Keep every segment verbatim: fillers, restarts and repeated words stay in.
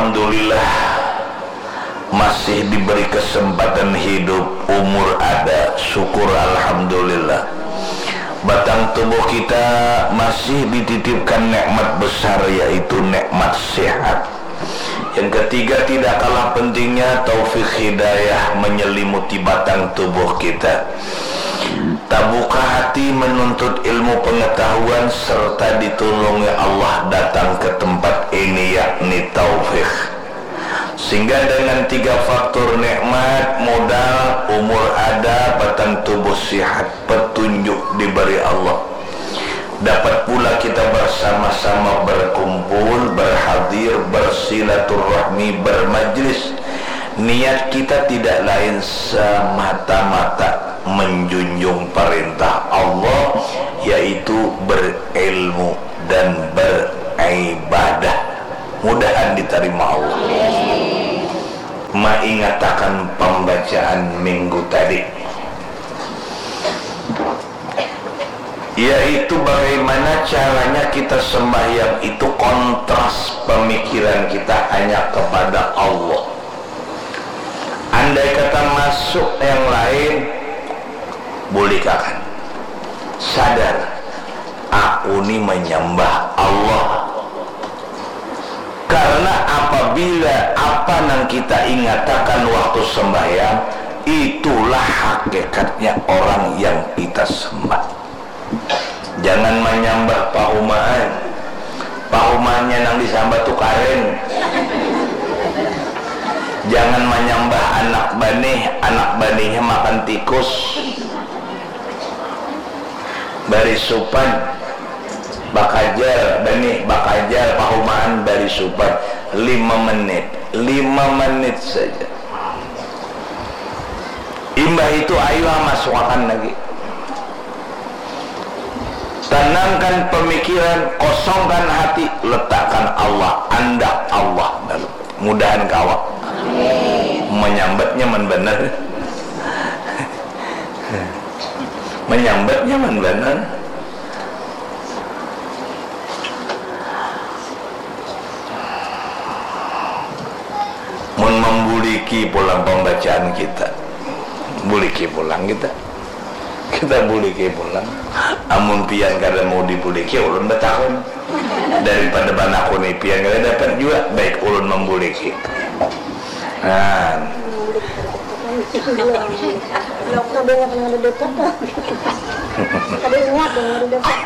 Alhamdulillah, masih diberi kesempatan hidup, umur ada, syukur alhamdulillah. Batang tubuh kita masih dititipkan nikmat besar, yaitu nikmat sehat. Yang ketiga, tidak kalah pentingnya, taufik hidayah menyelimuti batang tubuh kita. Tabuka hati menuntut ilmu pengetahuan serta ditulungi Allah datang ke tempat ini, yakni taufik. Sehingga dengan tiga faktor nikmat, modal, umur ada, batang tubuh sihat, petunjuk diberi Allah, dapat pula kita bersama-sama berkumpul, berhadir, bersilaturahmi, bermajlis. Niat kita tidak lain semata-mata menjunjung perintah Allah, yaitu berilmu dan beribadah. Mudahan diterima Allah. Maingatakan pembacaan minggu tadi, yaitu bagaimana caranya kita sembahyang itu kontras pemikiran kita hanya kepada Allah. Andai kata masuk yang lain, bulikakan. Sadar, aku ni menyembah Allah. Karena apabila apa nang kita ingatakan waktu sembahyang, itulah hakikatnya orang yang kita sembah. Jangan manyambah pahumaan. Pahumaannya nang disambat tu karen. Jangan manyambah anak banih, anak banihnya makan tikus. Bari supan, bakajar banih, bakajar pahumaan, bari supan. Lima menit, lima menit saja. Imbah itu, ayu ha masukakan lagi. Tanangkan pamikiran, kosongkan hati, letakkan Allah, andak Allah dalam. Mudahan kawa. Manyambat nyaman banar. Manyambat nyaman banar. Mun mambuliki pulang pambacaan kita, buliki pulang kita. Kita buliki pulang. Amun pian kada mau dibuliki, ulun batakun. Daripada banakuni pian kada dapat jua, baik ulun mambuliki. Nah. Kada ingat yang ada dapat. Kada ingat yang ada dapat.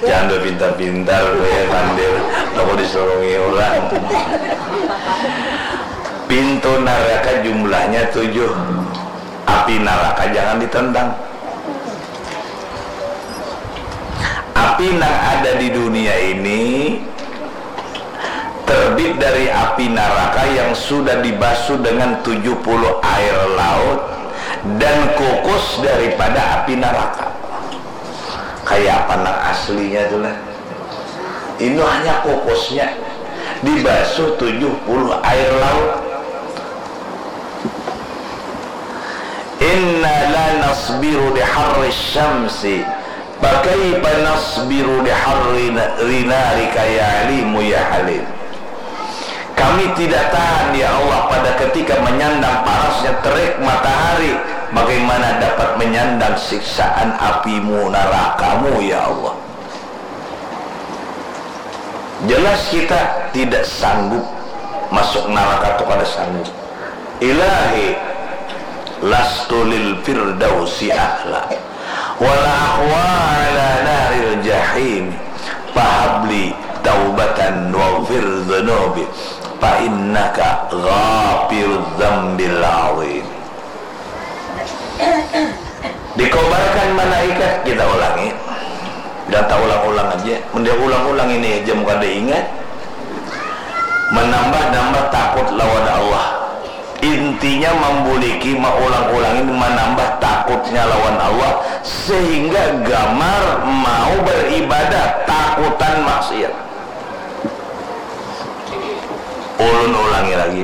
Jangan bapintar-pintar, ya, pandir. Aku disurungi orang. Pintu naraka jumlahnya tujuh. Api naraka jangan ditentang. Api nang ada di dunia ini terbit dari api naraka yang sudah dibasuh dengan tujuh puluh air laut dan kukus daripada api naraka. Kayak apa nang aslinya tu lah? Ini hanya kukusnya dibasuh tujuh puluh air laut. Inna la nasbiru li harri syamsi, fa kaifa nasbiru li harri na-, li narika ya alimu ya halim. Kami tidak tahan, ya Allah, pada ketika menyandang panasnya terik matahari, bagaimana dapat menyandang siksaan apimu, narakamu, ya Allah? Jelas kita tidak sanggup masuk naraka tu, kada sanggup. Ilahi, lastu lil firdausi ahla, wala aqwa ala naril jahim, fahabli taubatan waghfir dzunubi, fa innaka ghafirudz dzambil azim. Dikobarkan malaikat, kita ulangi. Dah taulang-ulang aja. Mun dia ulang-ulang ini aja mun kada ingat, manambah-nambah takut lawan Allah. Intinya mambuliki, maulang-ulang ini manambah takutnya lawan Allah, sehingga gamar mau beribadah takutan maksiat. Ulun ulangi lagi.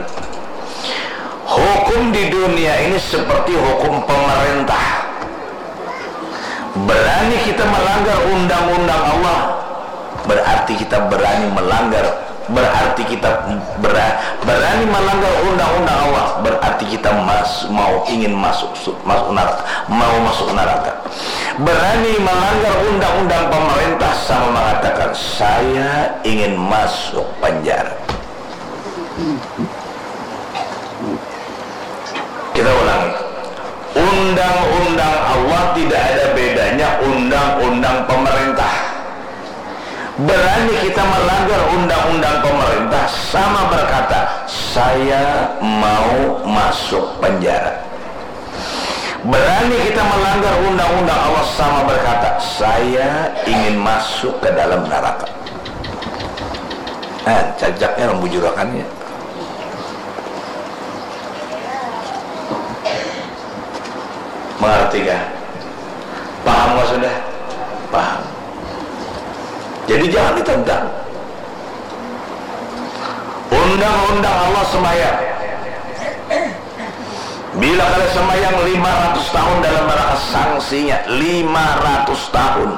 Hukum di dunia ini seperti hukum pemerintah. Berani kita melanggar undang-undang Allah, Berarti kita berani melanggar, berarti kita bera- berani melanggar undang-undang Allah, berarti kita mas- mau ingin masuk su- masuk neraka, mau masuk neraka. Berani melanggar undang-undang pemerintah sama mengatakan, "Saya ingin masuk penjara." Kita ulangi. Undang-undang Allah tidak ada bedanya undang-undang pemerintah. Berani kita melanggar undang-undang pemerintah sama berkata, "Saya mau masuk penjara." Berani kita melanggar undang-undang Allah sama berkata, "Saya ingin masuk ke dalam neraka." Nah, cajaknya orang bujurakannya. Mengerti kah? Paham kah sudah? Paham. Jadi jangan ditentang. Undang-undang Allah sembahyang. Bila kada sembahyang lima ratus tahun dalam neraka sanksinya, lima ratus tahun.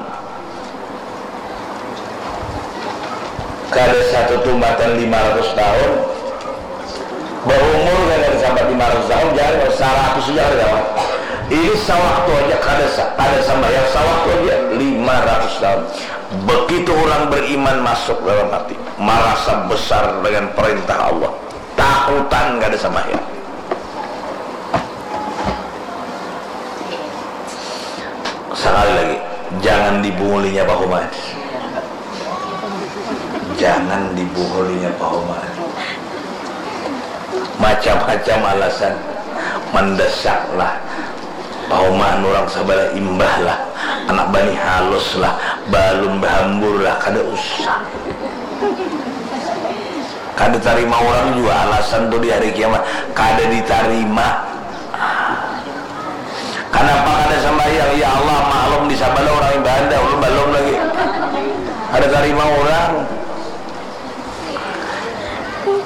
Kada satu tumbatan lima ratus tahun, berumur kan kada sampai lima ratus tahun, jangan kalau seratus saja kada dapat. Ini sawaktu aja kada sa- kada sambahyang, sawaktu aja lima ratus tahun. Begitu orang beriman masuk dalam hati, merasa besar dengan perintah Allah, takutan kada sambahyang. Sekali lagi, jangan dibuhulinya pahumaan. Jangan dibuhulinya pahumaan. Macam-macam alasan, mendesak lah, pahumaan orang sebelah imbah lah, anak bani halus lah, balum bahambur lah, kada usah. Kada tarima orang jua alasan tu di hari kiamat. Kada ditarima. Kanapa kada sambahyang? Ya Allah, maklum di sabalah urang ibadah, ulun balum lagi. Kada tarima urang.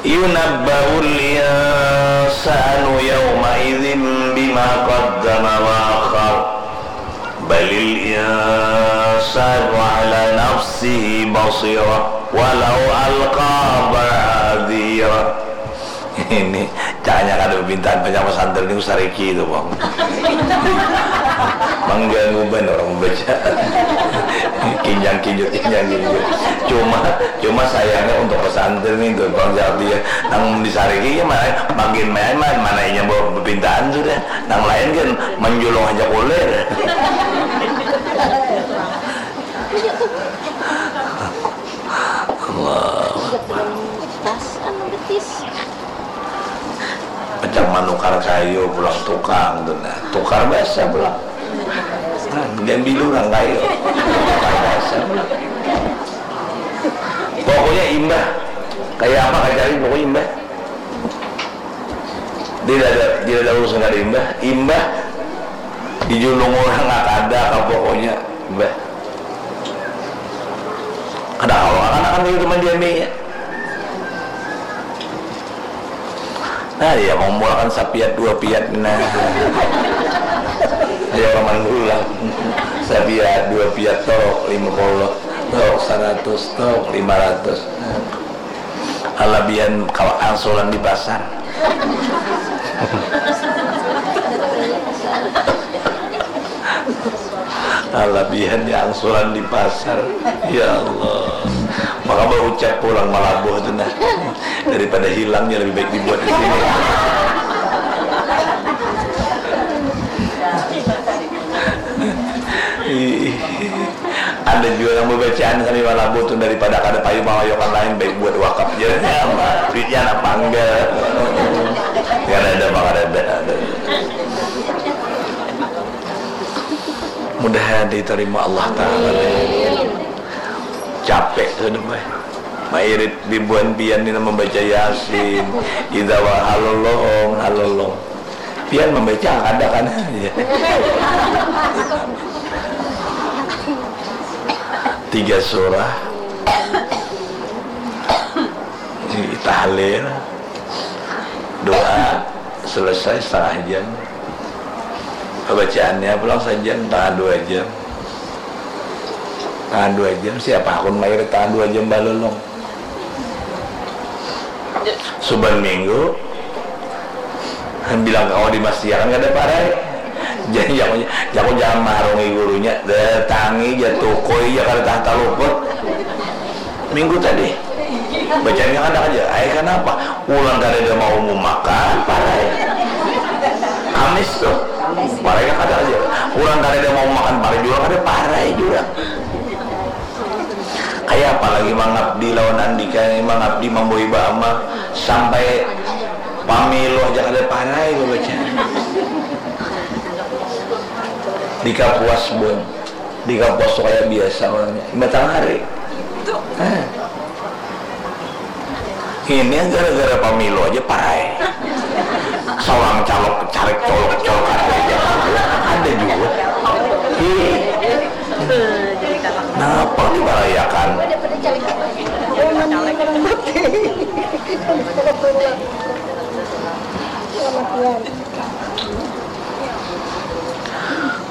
Yunabba'ul insanu yauma'idzin bima qaddama wa akhar. Balil insanu ala nafsihi basirah walau alqa ma'adzirah. Ini cakanya kada bapintaan banyak pesantren niku sariki itu, Bang. Mengganggu banar orang membaca. Kinjang kinjut, kinjang kinjut. Cuma, cuma sayangnya untuk pesantren itu, Bang Jabi ya. Nang disariki ya, mana, makin main, mana, mana inya bawa bapintaan sudah. Nang lain kan menjulung aja kulir. Allah. Tas anu betis. Macam manukar kayu pulang tukang tu nah. Tukar bahasa pulang. Nah, diambil orang kayu. Tukar bahasa pulang. Pokoknya imbah. Kayak apa kacari pokoknya imbah. Tidak ada, tidak ada urusan kada imbah. Imbah dijulung orang nggak ada apa pokoknya imbah. Kada kawa akan-akan itu mendiaminya. Nah, dia mau mulakan sapiat dua piat, nah. Ayo orang mandul lah. Sapiat dua piat tok lima puluh, tok seratus, tok lima ratus. Alabihan kawa angsuran di pasar. Alabihannya angsuran di pasar. Ya Allah. Maka berucap pulang malabuh tu nah. Daripada hilangnya lebih baik dibuat di sini. Ih. Ada jua nang babacaan sambil malabu tu daripada kada payu mangayokan lain, baik buat wakaf ja. Duitnya anak panggal. Kada ada, kada ada. Mudahan ditarima Allah Ta'ala. Capek sudah, bah. Mairit bibuan pian ni membaca Yasin. Idza wa halolong, halolong. Pian membaca kada kan? Tiga surah. Tahlil. Doa selesai setengah jam. Bacaannya pulang sajam, setengah dua jam. Tahan dua jam, siapa hakun mairit tahan dua jam balolong? Suban minggu, bilang kawa dimastiakan kada parai. Jadi jaku, jaku jangan maharungi gurunya, datangi ja tukui ja kada tahan taluput. Minggu tadi bacanya kada aja, ai kanapa? Ulang kada ada mau makan parai. Kamis tuh, parai kada aja. Ulang kada ada mau makan parai juga, kada parai juga. Kaya apa lagi mangabdi lawan andika ni, mangabdi mambawa iba ama sampai pamilu aja kada parai babaca. Dikapuas bun, dikapuas tu kaya biasa orangnya. Imbah tangah hari. Hah. Ini gara-gara pamilu aja parai. Seorang calok carik colok colok ada juga. Ada juga. Ih. Kenapa dibarayakan?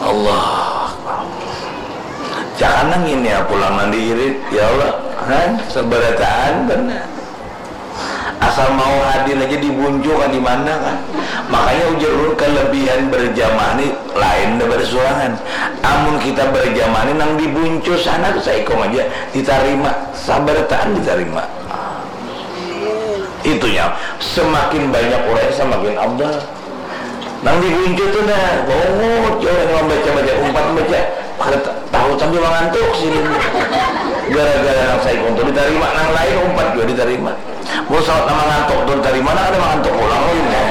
Allah Akbar. Jangan nang ini ya pulang nang diirit ya Allah. Kan seberataan benar. Asal mau hadir aja dibuncukan di mana kan. Makanya ujar ulun kelebihan berjamaah ni lain daripada surangan. Amun kita berjamaah ni nang dibuncu sana tu saikung aja ditarima, sabarataan ditarima. Itunya semakin banyak orang semakin afdal. Nang dibuncu tu nah, bongot jauh yang membaca-baca umpat membaca. Kada ta- tahu sambil mengantuk sini. Gara-gara nang saikung tu ditarima, nang lain umpat juga ditarima. Mun salat nama ngantuk tu ditarima, nah kada mengantuk pulang lagi nah.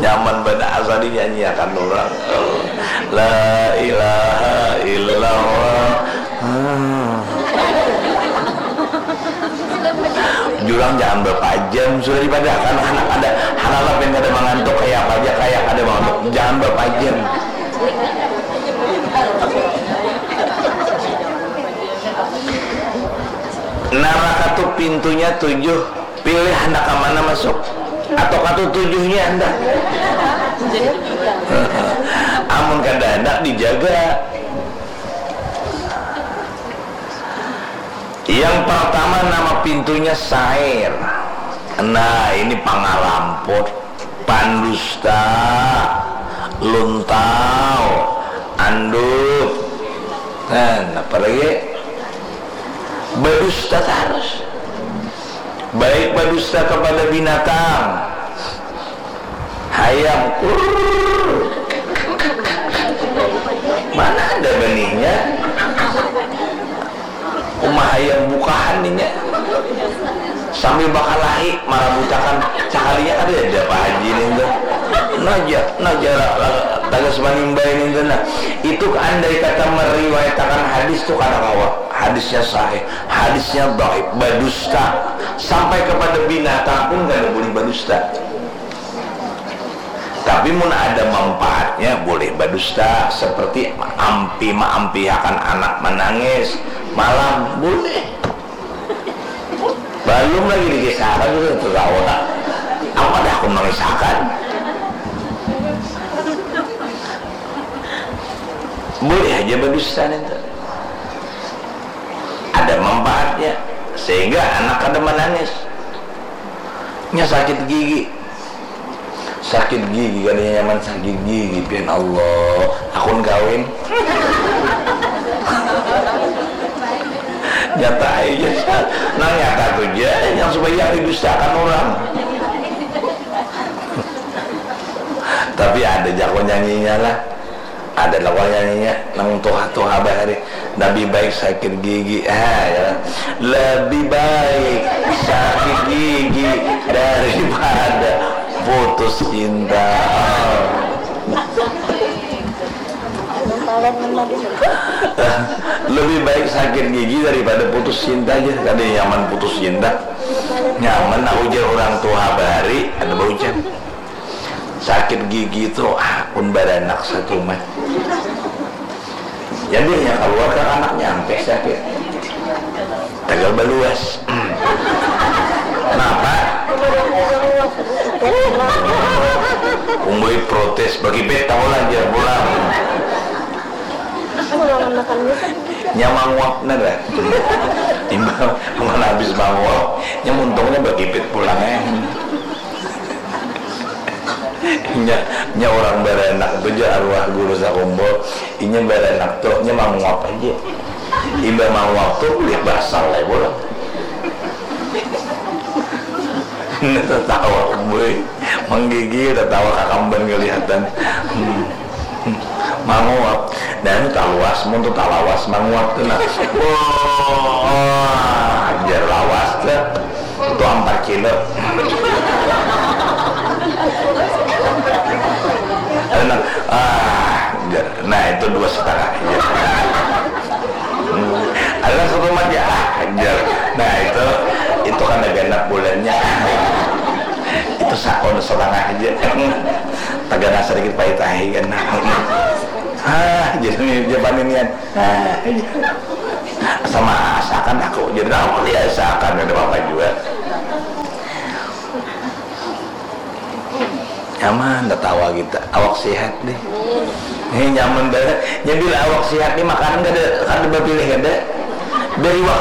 Nyaman banar asa dinyanyiakan orang. La ilaha illallah. Hmm. Jurang jangan berapa jam sudah dipadahakan anak ada anak lapin kada mengantuk kaya apa aja kaya kada mengantuk jangan berapa jam. Neraka tu pintunya tujuh, pilih handak ka mana masuk atau katu tujuhnya handak. Amun kada handak dijaga. Yang pertama nama pintunya sair. Nah, ini pangaramput, pandusta, luntau, andup. Nah, apa lagi? Badusta tarus. Baik badusta kepada binatang. Hayam kurr. Mana ada benihnya? Uma hayam bukahan ninya. Sambil bakalahi marabutakan cakalinya kada ada Pak Haji nintu. Naja, naja tagas manimbai nintu nah. Itu andai kata meriwayatakan hadis tu kada kawa. Hadisnya sahih, hadisnya dhaif, badusta. Sampai kepada binatang pun kada boleh badusta. Tapi mun ada manfaatnya boleh badusta seperti ampi maampihakan anak manangis malam boleh. Balum lagi dikisahkan sudah tertawa. Apa dah aku mengisahkan? Boleh aja badusta nintu. Ada manfaatnya sehingga anak kada manangis. Nya sakit gigi. Sakit gigi kada nyaman sakit gigi pian Allah. Akun kawin. Nyata aja. Nang nyata tu ja yang supaya yang didustakan orang. Tapi ada jago nyanyinya lah. Ada lah wayahnya nang tuha-tuha bahari, lebih baik sakit gigi, ah, ya. Lebih baik sakit gigi daripada putus cinta. Lebih baik sakit gigi daripada putus cinta aja. Kada nyaman putus cinta. Nyaman aku ujar orang tuha bahari ada baucap. Sakit gigi tu ah pun baranak satu mah. Jadi hanya keluar ke anaknya sampai sakit. Tagal baluas. Kenapa? Umboi protes bagi beta lah dia pulang. Nya manguap nah dah. Imbah mana habis manguap, nya muntungnya bagipit pulang eh. Nya, nya orang baranak tu ja arwah guru sakumpul, inya baranak tu nya manguap aja. Imbah manguap tu kulit basal lah pulang. Nah, tatawa boy, manggigil tatawa kakamban kelihatan. Hmm. Manguap. Nah, ini taluas, mun tu talawas, manguap tu nah. Wah, jar lawas tu. Itu empat kilo. Nah, ah, jar. Nah, itu dua setengah. Jar. Hmm. Ada satu mah ya, ah, jar. Nah, itu itu kan ada genap bulannya. Itu sakon setengah aja. Tagana sedikit pahit ahi kan. Hah, jadi dia paninian. Hah, sama asakan aku. Jadi aku dia asakan ada apa juga. Nyaman tatawa kita. Awak sehat deh. Ini nyaman banget. Nya bila awak sehat nih makanan kada kada bapilih kada. Dari wak